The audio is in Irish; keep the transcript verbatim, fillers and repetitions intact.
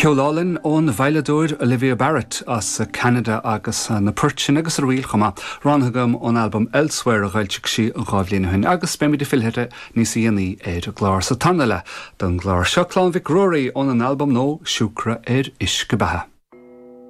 Ceol álainn ón veidhleadóir Olivia Barrett as Canada agus na poirt sin agus a ríl chuma ranthagam ón album Elsewhere a d'fhoilsigh sí dhá bhliain ó shin agus beimid ag filleadh níos déanaí ar an gclár sa tarna leath don gclár seo Clann Mhic Ruairí ón an albam nua Siúcra ar Uisce Beatha.